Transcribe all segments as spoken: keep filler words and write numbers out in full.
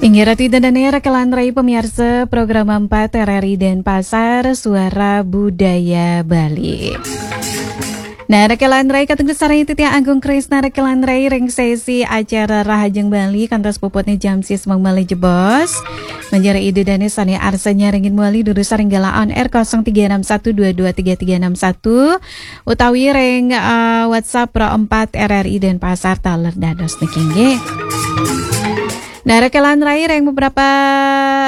Inggih Ratu Ida Dane, rekan rai pamiarsa program empat R R I Denpasar, Suara Budaya Bali. Nah, rekan rai katengtu sareng titiang Agung Krisna, rekan rai ring sesi acara Rahajeng Bali kantos puputne jam sis malih jebos. Manjari Ida Dane sane arsa nyarengin malih durus ring galah on air kosong tiga enam satu dua dua tiga tiga enam satu utawi ring, eh, WhatsApp Pro empat R R I Denpasar taler dados niki nggih. Nah, rekan rai ring beberapa,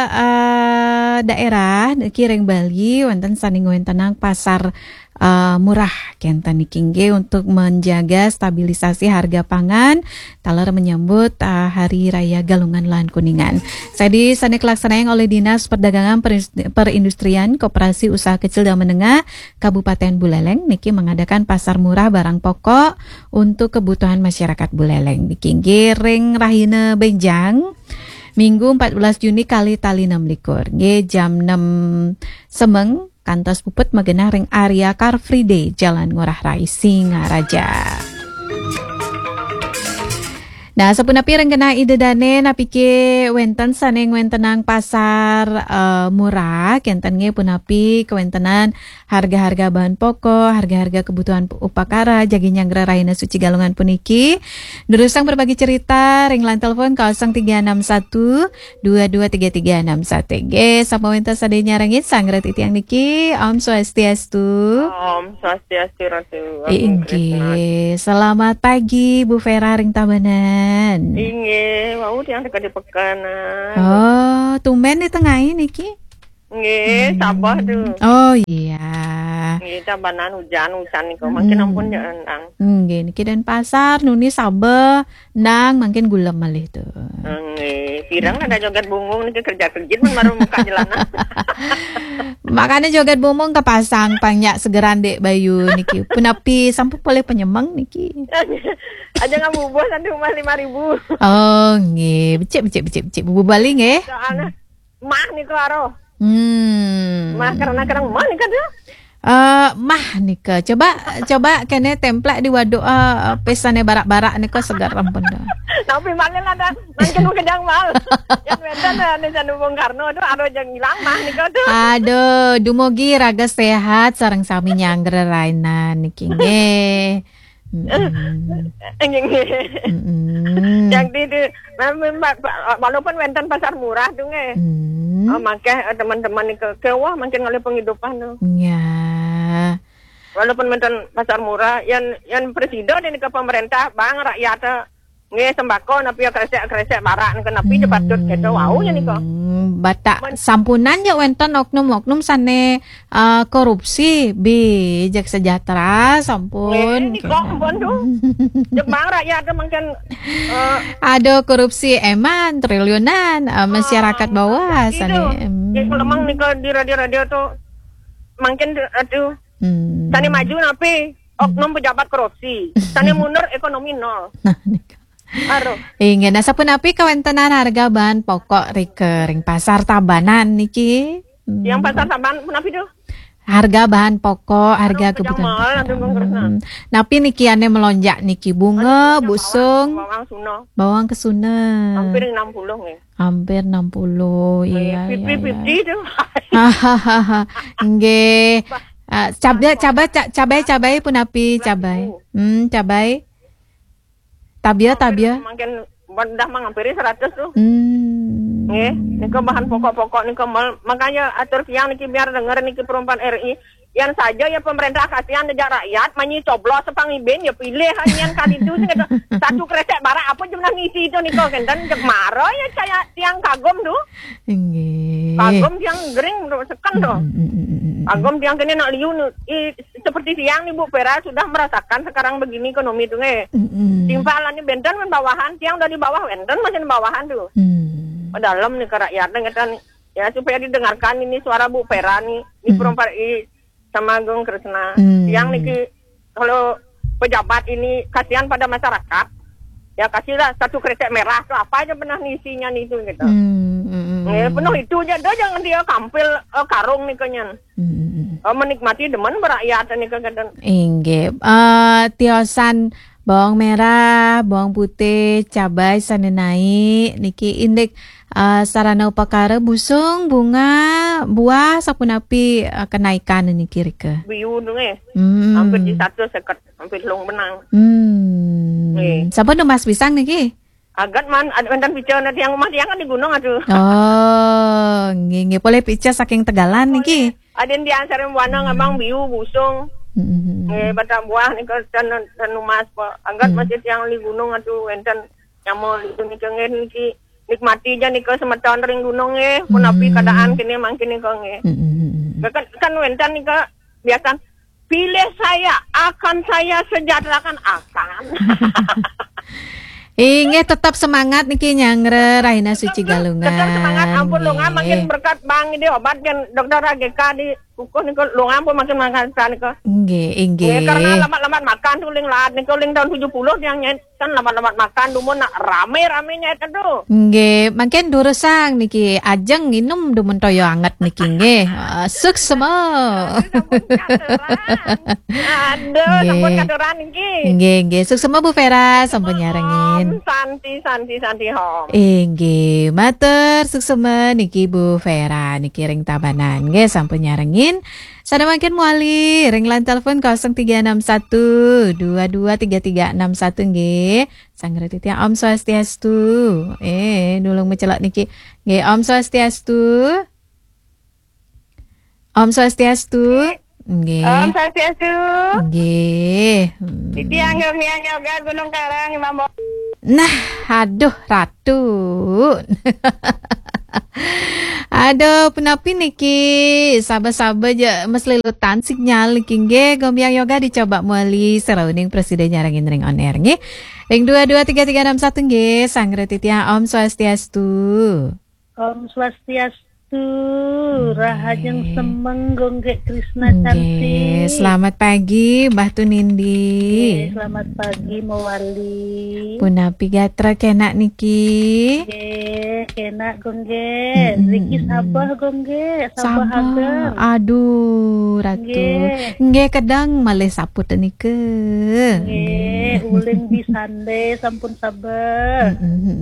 eh, daerah niki ring Bali wonten sane ngwentenang pasar, eh, murah kenten niki nggih untuk menjaga stabilisasi harga pangan taler menyambut, eh, Hari Raya Galungan lan Kuningan. Sadi sane kalaksanayang olih Dinas Perdagangan Peris-, Perindustrian Koperasi Usaha Kecil dan Menengah Kabupaten Buleleng niki mengadakan pasar murah barang pokok untuk kebutuhan masyarakat Buleleng. Niki nggih ring rahina benjang, Minggu empat belas Juni kalih tali enam likur. Nggih, jam enam semeng kantos puput magenah ring area Car Free Day, Jalan Ngurah Rai, Singaraja. Nah, sapunapi ring genah Ida Dane, napike wenten sane ngwentenang pasar, eh, murah, kenten nggih punapi kawentenan harga-harga bahan pokok, harga-harga kebutuhan upakara, jagi nyanggra rahina suci Galungan puniki. Durusang berbagi cerita ring line telepon kosong tiga enam satu dua dua tiga tiga enam satu. Nggih, sampun wenten sane nyarengin sareng titiang niki. Om Swastiastu. Om Swastiastu, Ratu. Agung Krisna. Inggih, selamat pagi Bu Vera ring Tabanan. Inggih, wau tiang teka di Pekanan. Oh, tumben di tengah niki. Nggih, Sabah tu. Oh iya. Nggih, Tabanan hujan, hujan niku. Mangkin ampun ya endang. Nggih, niki Denpasar, nuni Sabah, nang mangkin gulem malih tu. Nggih, pirang ada joget bungung niki kerja kerjit men baru muka jalanan. Makanya joget bungung kepasang pang nyak segeran Dek Bayu niki. Punapi sampun polih penyemeng niki. Aja ngabubuh nanti rumah lima ribu. Oh, nggih. Becik, becik, becik, becik. Bubuh Bali nggih. Soalnya mah niku aro. Hmm. Mah karena kerang mah nika tu. Eh, mah nika. Coba, coba kene templek di waduk, eh, pesane barak-barak nika seger ampun dah. Tapi malih lah dah. Mangkin kejang mal. Yang wenten dah ni Sandu Bung Karno tu aro jang hilang mah nika tu. Aduh, dumugi raga sehat sareng sami nyanggra rahina niki nggih. Mm-mm. Nggih, nggih. Mm-mm. Yang di, di, memang, walaupun wenten pasar murah tu nggih. Mm. Oh, mangke, eh, teman-teman ni ke, kewah mangkin ngalih penghidupan tu. Ya. Walaupun wenten pasar murah, yang, yang presida ni ke pemerintah, bang rakyat, eh, nggih sembako napi ya kresek-kresek barak ni ke napi je patut kita wau je ni ke. Hmm, batak Men- sampunan je wenten oknum-oknum sane, eh, korupsi, bi, Jek Sejahtera, sampun. Nggih, ni kok ampun tu. Jek bang rakyat tu mangkin, eh, ada korupsi eman triliunan, eh, masyarakat bawah pasti sane. Tu. Hmm. Nggih, kalau memang ni ke di radio-radio tu mangkin tu, aduh. Hmm. Sane maju napi? Oknum pejabat korupsi. Sane mundur ekonomi nol. Nah, nika. Aduh. Inggih, nah sapunapi kawentenan harga bahan pokok rika ring pasar Tabanan niki? Hmm. Yang pasar Tabanan punapi tu? Harga bahan pokok, harga kebutuhan pokok. Aduh, kejang mal, aduh, Bang Kresna. Hmm. Napi niki ane melonjak niki? Bunga, aduh, kejang mal, busung, bawang kesuna. Hampir enam puluh nggih. Hampir enam puluh, iya, iya, iya. Fifty fifty tu. Nggih. Ah, cabai, cabai, ca-, cabai, cabai punapi, cabai. Hmm, cabai. Tabia, tabia. Mangkin dah menghampiri seratus tu. Hmm. Nggih, nika bahan pokok-pokok nika mal. Makanya atur tiang niki biar denger niki perumpan R I. Yan saja ya pemerintah kasihan dejak rakyat, manyi coblos sepang ibin ya pilih yan kali tu sing kata satu kresek barak apa jumlah ngisi tu nika kenten jek mara ya saya tiang kagum tu. Nggih. Kagum tiang gering tu seken tu. Mm, mm, mm, mm, mm. Kagum tiang kene nak liu nu, i, seperti tiang ni Bu Vera sudah merasakan sekarang begini ekonomi tu nggih. Mm, mm. Timpal ni benten men bawahan tiang dari bawah benten masih bawahan tu. Mm. Dalam ni ke rakyat ni kata ni. Ya, supaya didengarkan ini suara Bu Vera ni, di perumpat i sama Agung Kresna. Hmm. Yang niki kalau pejabat ini kasihan pada masyarakat, ya kasihlah satu kresek merah tu apa aja pernah isinya nih itu gitu. Hmm, hmm, hmm. Ya, penuh itu aja dah jangan dia kampil, eh, karung nih kenyan. Hmm, hmm, hmm. Eh, menikmati demen berakyat nih kagatan. Inggih. Eh, tiosan Bawang merah, bawang putih, cabai sané naik niki indik, eh, sarana upakara busung, bunga, buah sapunapi, eh, kenaikan niki rika. Biu tu nggih. Hmm. Hampir di satu seket, hampir telung benang. Hmm. Nggih. Sampun numbas pisang niki? Agat man, ad-, wénten pica na tiang umah tiang kan di gunung aduh. Oh, nggih, nggih. Polih pica saking Tegalan niki. Adin tiang sareng buana ngabang biu busung. Hmm. Nggih, batang buah nika ten, ten numbas, Pak. Agat masih tiang di gunung aduh wénten nyama itu nika nggih niki. Nikmati ja nika semeton ring gunung nggih. Punapi keadaan kini mangkin nika nggih. Hmm. Kan, kan wénten nika biasa pilih saya, akan saya sejahterakan, akan. Inggih, tetap semangat niki nyanggra Rahina Suci Galungan. Tetap semangat, ampun lunga makin berkat bang ini obat kan dokter A G K di kukuh niku lunga ampun makin makan nika. Nggih, inggih. Nggih, karena lambat-lambat makan tu uling laat niku uling tahun tujuh puluh yang nyet kan lambat-lambat makan dumun nak rame-rame nyet aduh. Nggih, mangkin durusang niki ajeng nginum dumun toya anget niki nggih. Ah, suksma. Aduh, sampun katuran. Aduh, sampun katuran niki. Nggih, nggih. Suksma Bu Vera sampun nyarengin. Om Santi, Santi, Santi Om. Inggih, matur suksma niki Bu Vera niki ring Tabanan nggih sampun nyarengin. Sané mangkin mawali ring line telepon kosong tiga enam satu dua dua tiga tiga enam satu nggih. Sanggra titiang Om Swastiastu. Eh, nulung macelok niki. Nggih, Om Swastiastu. Om Swastiastu. Nggih. Om Swastiastu. Nggih. Hmm. Titiang Yomian Yoga Gunung Karang, Imam Bo- Nah, aduh, Ratu. Aduh, punapi niki? Saba-saba ja maslilutan sinyal niki nggih. Gomiang Yoga dicoba mawali sarauning prasida nyarengin ring on air nggih. Ring dua dua tiga tiga enam satu nggih. Sanggra titiang Om Swastiastu. Om Swastiastu. Nggih. Rahajeng semeng Gunggek Krisna Cantik. Selamat pagi, Mbah Tunindi. Nggih, selamat pagi, mawali. Punapi gatra kenak niki? Nggih, kenak Gunggek. Mm-mm. Riki sabeh Gunggek, sabeh hager. Aduh, Ratu. Nggih. Nggih, kedeng malih saput nika. Nggih, uling bisande sampun sabeh. Mm-mm,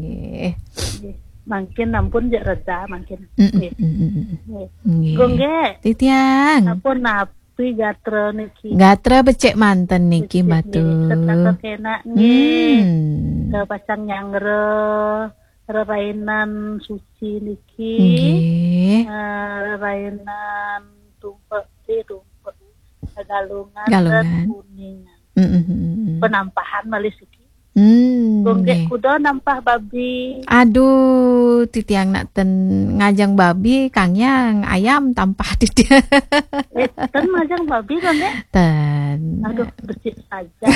nggih. Nggih. Mangkin ampun ja reda mangkin. Mm-mm, nggih. Mm-mm. Nggih. Nggih. Gunggek. Titiang. Sampun napi gatra niki? Gatra becik manten niki, Mbah Tun. Becik nggih. Setata kenak nggih. Hmm. Kapacang nyanggra rerainan suci niki. Nggih. Eh, rerainan tumpek, eh, tumpek. Galungan. Galungan. Dan Kuningan. Mm-mm, mm-mm. Penampahan malih siki. Hmm, Gunggek nggih. Kuda nampah babi. Aduh, titiang nak ten ngajeng babi, kangyang ayam tampah titiang. Eh, ten ngajeng babi, Gunggek? Ten. Aduh, becik saja.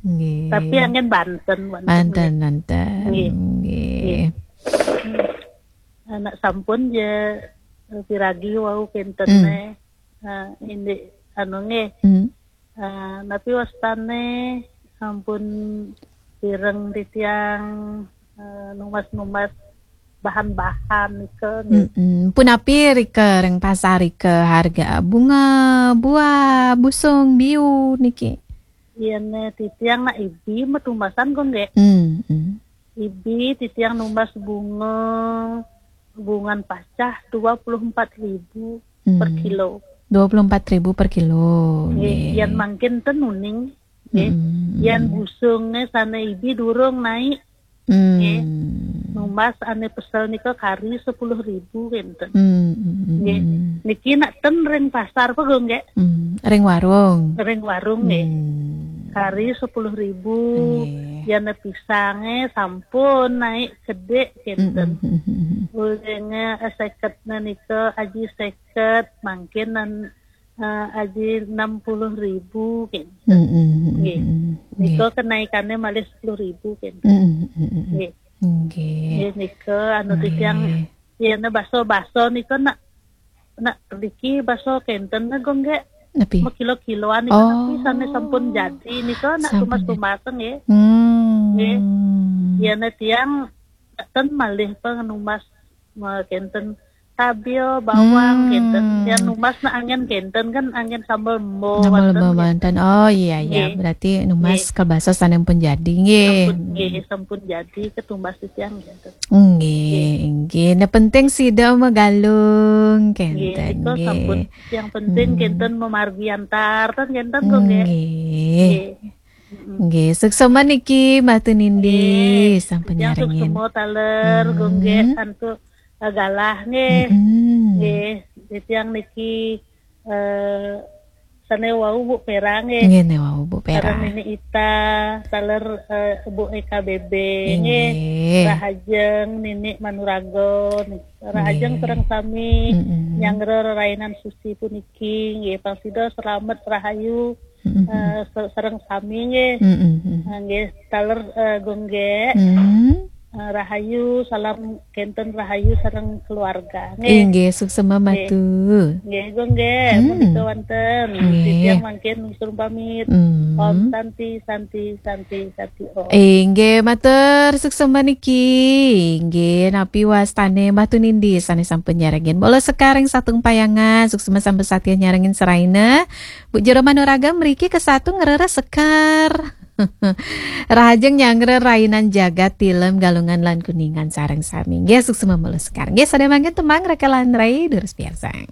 Nggih. Tapi angin Banten, Banten, Banten, nggih. Banten. Nggih. Nggih. Nggih. Hmm. Anak sampun ja, eh, piragi wau kinten. Hmm. Eh, indik anu nggih. Hmm. Eh, napi wastane ampun pireng titiang, eh, numbas-numbas bahan-bahan nika nggih. Mm-mm. Punapi rika ring pasar rika harga bunga, buah, busung, biu niki? Yen titiang nak ibi matumbasan kok nggih. Mm-mm. Ibi titiang numbas bunga, bungan pacah dua puluh empat ribu per kilo. Hmm. Dua puluh empat ribu per kilo. Nggih, nggih. Yen mangkin ten uning, nggih. Hmm. Yen busunge sane ibi durung naik. Hmm. Nggih. Numbas ane pesel nika kari sepuluh ribu kinten. Hmm, hmm, hmm, nggih. Hmm. Niki nak ten ring pasar apa, Gung, nggih? Hmm, ring warung. Ring warung, nggih. Hmm. Kari sepuluh ribu. Nggih. Yen pisange sampun naik kedik kinten. Mm, mm, mm, mm, mm. Ulinge, eh, seket nika aji seket, mangkin nan, eh, aji enam puluh ribu kinten. Mm, mm, mm, nggih. Mm, mm. Nika nggih. Kenaikane malih sepuluh ribu kinten. Mm, mm, mm, mm. Nggih. Nggih. Nggih, nika anu titiang, nggih. Yen baso-baso nika nak nak riki baso kenten nego nggih. Napi? Makilo-kiloan nika. Oh. Tapi sane sampun jadi nika nak sampun tumas-tumas nggih. Hmm. Nggih. Yen tiang ten malih pang numas ma-, kenten. Cabe, bawang, hmm, kénten. Yang numbas nah anggén kénten kan anggén sambel mbo. Sambel mbo wénten. Oh iya, iya. Nggih. Berarti numbas, nggih, kalih basa sampun jadi, nggih. Sampun, nggih, sampun jadi ketumbas titiang kénten. Nggih, nggih. Nggih. Nah, penting sida magalung, nggih, kénten, nika nggih. Sampun. Yang penting, hmm, kénten mamargi antar, ten kénten kok, nggih. Nggih. Nggih. Mm-mm. Nggih, suksma niki Mbah Tunindi, nggih, sampun nyarengin. Suksma taler, hmm, nggih, antuk, eh, galah, nggih. Mm-mm. Nggih, titiang niki, eh, sané wau Bu Pera, nggih. Nggih, né wau Bu Pera. Sareng Nini Ita, taler, eh, Bu Eka B B, nggih. Nggih. Rahajeng Nini Manuraga, nggih. Rahajeng, nggih, sareng sami, mm-mm, nyanggra rerainan suci puniki, nggih, pang sida slamet rahayu, mm-mm, eh, se-, sareng sami, nggih. Mm-mm. Eh, nggih, taler, eh, Gung Gék. Mm. Eh, rahayu, salam kénten rahayu sareng keluarga, nggih. Inggih, suksma, nggih. Matu. Nggih, Gung Gék, hmm, menika wonten. Nggih. Titiang mangkin nutur pamit. Hmm. Om Santi, Santi, Santi, Santi, Om. Inggih, matur suksma niki. Inggih, napi wastané Mbah Tunindi sané sampun nyarengin. Mula sekar ring Satumpayangan, suksma sampun satia nyarengin seraina. Bu Jero Manuraga mriki kesatu ngrereh sekar. Rahajeng nyanggra rainan jagat Tilem, Galungan lan Kuningan sareng sami. Nggih, suksma mula sekar. Nggih, sadaya mangkin tembang Raka lan Rai, durus piarsang.